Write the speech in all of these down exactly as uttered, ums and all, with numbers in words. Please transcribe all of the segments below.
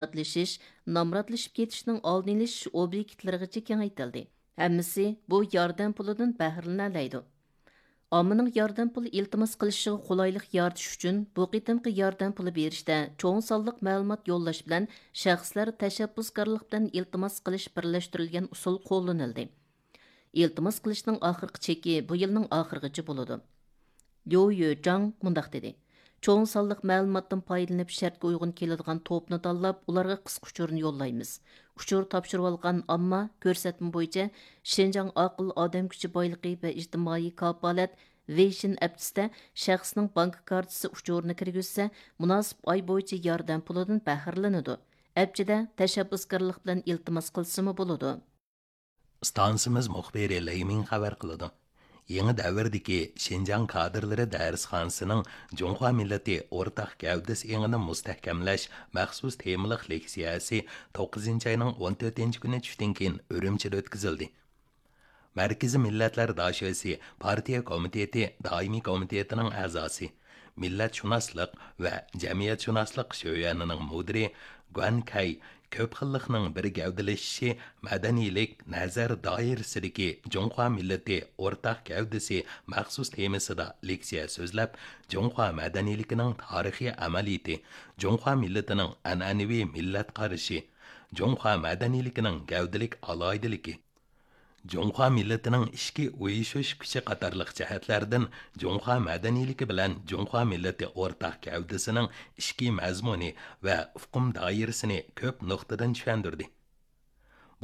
نامراتلىشىش، نامراتلىشىپ كېتىشنىڭ ئالدىنى ئېلىش ئوبيېكتلىرىغىچە كېڭەيتىلدى. ھەممىسى بۇ ياردەم پۇلىدىن بەھرىلىنەلەيدۇ. ئاممىنىڭ ياردەم پۇلى ئىلتىماس قىلىشىغا قولايلىق يارىتىش ئۈچۈن، بۇ قېتىمقى ياردەم پۇلى بېرىشتە چوڭ سانلىق مەلۇمات يوللاش بىلەن شەخسلەر تەشەببۇسكارلىق بىلەن ئىلتىماس قىلىش بىرلەشتۈرۈلگەن ئۇسۇل قوللىنىلدى. ئىلتىماس قىلىشنىڭ ئاخىرقى چېكى بۇ يىلنىڭ ئاخىرىغىچە بولىدۇ. ليۇ يۆجاڭ مۇنداق دېدى: چوڭ سانلىق مەلۇماتتىن پايدىلىنىپ، شەرتكە ئۇيغۇن كېلىدىغان توپنى تاللاپ، ئۇلارغا قىسقا ئۇچۇرنى يوللايمىز. ئۇچۇر تاپشۇرۇۋالغان ئامما كۆرسەتمە بويىچە شىنجاڭ ئاقىل ئادەم كۈچى بايلىقى ۋە ئىجتىمائىي كاپالەت ۋېيشىن ئەپچىسىدە شەخسنىڭ بانكا كارتىسى ئۇچۇرىنى كىرگۈزسە، مۇناسىپ ئاي بويىچە ياردەم پۇلىدىن بەھرىلىنىدۇ. ئەپچىدە تەشەببۇسكارلىق بىلەن ئىلتىماس قىلسىمۇ بولىدۇ. ئىستانسىمىز مۇخبىرى لېي مىڭ خەۋەر قىلىدۇ. يېڭى دەۋردىكى شىنجاڭ كادىرلىرى دەرسخانىسىنىڭ جۇڭخۇا مىللىتى ئورتاق گەۋدىسى ئېڭىنى مۇستەھكەملەش مەخسۇس تېمىلىق لېكسىيەسى توققۇزىنچى ئاينىڭ ئون تۆتىنچى كۈنى چۈشتىن كېيىن ئۈرۈمچىدە ئۆتكۈزۈلدى. مەركىزىي مىللەتلەر داشۆسى پارتىيە كومىتېتى دائىمىي كومىتېتىنىڭ ئەزاسى، مىللەتشۇناسلىق ۋە جەمئىيەتشۇناسلىق شۆيۈەنىنىڭ مۇدىرى گۇەن كەي كۆپ خىللىقنىڭ بىر گەۋدىلىشىشى مەدەنىيلىك نەزەر دائىرىسىدىكى جۇڭخۇا مىللىتى ئورتاق گەۋدىسى مەخسۇس تېمىسىدا لېكسىيە سۆزلەپ، جۇڭخۇا مەدەنىيلىكىنىڭ تارىخىي ئەمەلىيىتى، جۇڭخۇا مىللىتىنىڭ ئەنئەنىۋى مىللەت قارىشى، جۇڭخۇا مەدەنىيلىكىنىڭ گەۋدىلىك ئالاھىدىلىكى، جۇڭخۇا مىللىتىنىڭ ئىچكى ئۇيۇشۇش كۈچى قاتارلىق جەھەتلەردىن جۇڭخۇا مەدەنىيلىكى بىلەن جۇڭخۇا مىللىتى ئورتاق گەۋدىسىنىڭ ئىچكى مەزمۇنى ۋە ئۇقۇم دائىرىسىنى كۆپ نۇقتىدىن چۈشەندۈردى.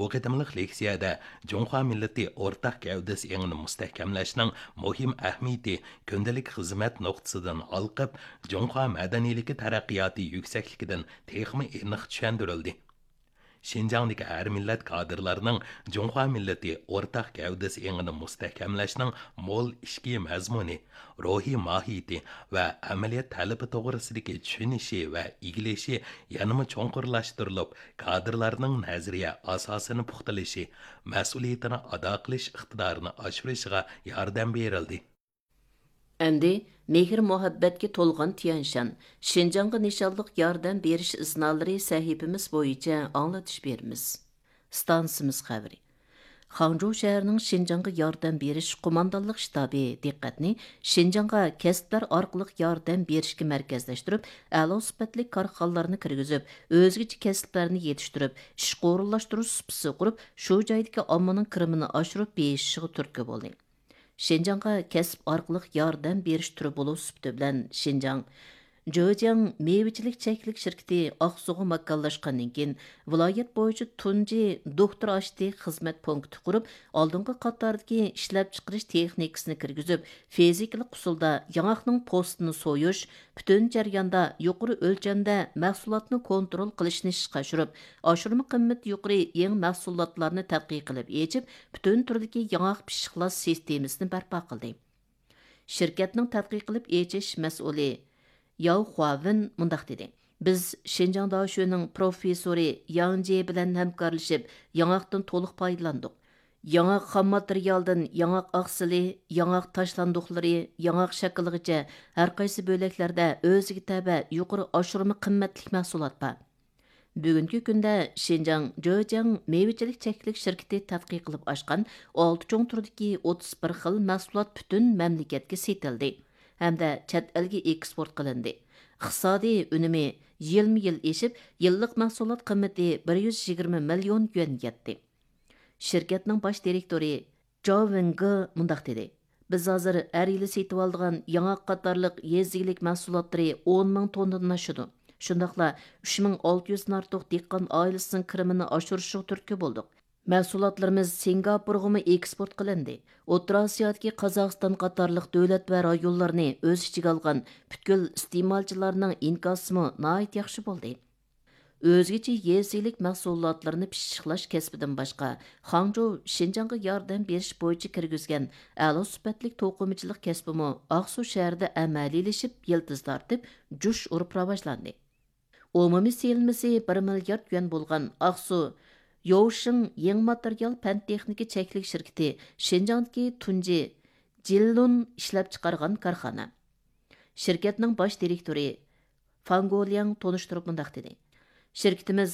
بۇ قېتىملىق لېكسىيەدە جۇڭخۇا مىللىتى ئورتاق گەۋدىسى ئېڭىنى مۇستەھكەملەشنىڭ مۇھىم ئەھمىيىتى كۈندىلىك خىزمەت نۇقتىسىدىن ھالقىپ، جۇڭخۇا مەدەنىيلىكى تەرەققىياتى يۈكسەكلىكىدىن تېخىمۇ ئېنىق چۈشەندۈرۈلدى. شىنجاڭدىكى ھەر مىللەت كادىرلارنىڭ جۇڭخۇا مىللىتى ئورتاق گەۋدىسى ئېڭىنى مۇستەھكەملەشنىڭ مول ئىچكى مەزمۇنى، روھىي ماھىيىتى ۋە ئەمەلىيەت تەلىپى توغرىسىدىكى چۈشىنىشى ۋە ئىگىلىشى يەنىمۇ چوڭقۇرلاشتۇرۇلۇپ، كادىرلارنىڭ نەزەرىيە ئاساسىنى پۇختىلىشى، مەسئۇلىيىتىنى ئادا قىلىش ئىقتىدارىنى ئاشۇرۇشىغا ياردەم بېرىلدى. ئەمدى مېھىر-مۇھەببەتكە تولغان تيەنشان، شىنجاڭغا نىشانلىق ياردەم بېرىش ئىزنالىرى سەھىپىمىز بويىچە ئاڭلىتىش بېرىمىز. ئىستانسىمىز خەۋىرى. خاڭجۇ شەھىرىنىڭ شىنجاڭغا ياردەم بېرىش قوماندانلىق شتابى دىققەتنى شىنجاڭغا كەسىپلەر ئارقىلىق ياردەم بېرىشكە مەركەزلەشتۈرۈپ، ئەلا سۈپەتلىك كارخانىلارنى كىرگۈزۈپ، ئۆزگىچە كەسىپلەرنى يېتىشتۈرۈپ، ئىشقا ئورۇنلاشتۇرۇش سۇپىسى قۇرۇپ، شۇ جايدىكى ئاممىنىڭ كىرىمىنى ئاشۇرۇپ بېيىشىشىغا تۈرتكە بولدى. شىنجاڭغا كەسىپ ئارقىلىق ياردەم بېرىش تۈرى بولۇش سۈپىتى بىلەن شىنجاڭ جېجياڭ مېۋىچىلىك چەكلىك شىركىتى ئاقسۇغا ماكانلاشقاندىن كېيىن، ۋىلايەت بويىچە تۇنجى دوكتور ئاشتى خىزمەت پونكىتى قۇرۇپ، ئالدىنقى قاتاردىكى ئىشلەپچىقىرىش تېخنىكىسىنى كىرگۈزۈپ، فىزىكىلىق ئۇسۇلدا ياڭاقنىڭ پوستىنى سويۇش، پۈتۈن جەرياندا يۇقىرى ئۆلچەمدە مەھسۇلاتنى كونترول قىلىشنى ئىشقا ئاشۇرۇپ، ئاشۇرما قىممىتى يۇقىرى يېڭى مەھسۇلاتلارنى تەتقىق قىلىپ ئېچىپ، پۈتۈن تۈردىكى ياڭاق پىششىقلاش سىستېمىسىنى بەرپا قىلدى. شىركەتنىڭ تەتقىق قىلىپ ئېچىش مەسئۇلى ياۋ خۇاۋېن مۇنداق دېدى: بىز شىنجاڭ داشۆنىڭ پروفېسسورى ياڭ جې بىلەن ھەمكارلىشىپ، ياڭاقتىن تولۇق پايدىلاندۇق. ياڭاق خام ماتېرىيالدىن ياڭاق ئاقسىلى، ياڭاق تاشلاندۇقلىرى، ياڭاق شاكىلىغىچە ھەرقايسى بۆلەكلەردە ئۆزىگە تەۋە يۇقىرى ئاشۇرما قىممەتلىك مەھسۇلات بار. بۈگۈنكى كۈندە شىنجاڭ جېجياڭ مېۋىچىلىك چەكلىك شىركىتى تەتقىق قىلىپ ئاچقان ئالتە چوڭ تۈردىكى ئوتتۇز بىر خىل مەھسۇلات پۈتۈن مەملىكەتكە سېتىلدى ھەمدە چەت ئەلگە ئېكسپورت قىلىندى. ئىقتىسادىي ئۈنۈمى يىلمۇ يىل ئېشىپ، يىللىق مەھسۇلات قىممىتى بىر يۈز يىگىرمە مىليون يۈەنگە يەتتى. شىركەتنىڭ باش دىرېكتورى جاۋ ۋېڭگې مۇنداق دېدى: بىز ھازىر ھەر يىلى سېتىۋالىدىغان ياڭاق قاتارلىق يېزا ئىگىلىك مەھسۇلاتلىرى ئون مىڭ توننىدىن ئاشىدۇ. شۇنداقلا ئۈچ مىڭ ئالتە يۈزدىن ئارتۇق دېھقان ئائىلىسىنىڭ كىرىمىنى ئاشۇرۇشىغا تۈرتكە بولدۇق. مەھسۇلاتلىرىمىز سىنگاپورغىمۇ ئېكسپورت قىلىندى. ئوتتۇرا ئاسىيادىكى قازاقىستان قاتارلىق دۆلەت ۋە رايونلارنى ئۆز ئىچىگە ئالغان پۈتكۈل ئىستېمالچىلارنىڭ ئىنكاسىمۇ ناھايىتى ياخشى بولدى. ئۆزگىچە يېزا ئىگىلىك مەھسۇلاتلىرىنى پىششىقلاش كەسپىدىن باشقا، خاڭجۇ شىنجاڭغا ياردەم بېرىش بويىچە كىرگۈزگەن ئەلا سۈپەتلىك توقۇمىچىلىق كەسپىمۇ ئاقسۇ شەھىرىدە ئەمەلىيلىشىپ، يىلتىز تارتىپ، جۇش ئۇرۇپ راۋاجلاندى. ئومۇمىي سېلىنمىسى بىر مىليارد يۈەن بولغان ئاقسۇ يوۋشىڭ يېڭى ماتېرىيال پەن تېخنىكا چەكلىك شىركىتى شىنجاڭدىكى تۇنجى جىللۇن ئىشلەپچىقارغان كارخانا. شىركەتنىڭ باش دىرېكتورى فاڭ گولياڭ تونۇشتۇرۇپ مۇنداق دېدى: شىركىتىمىز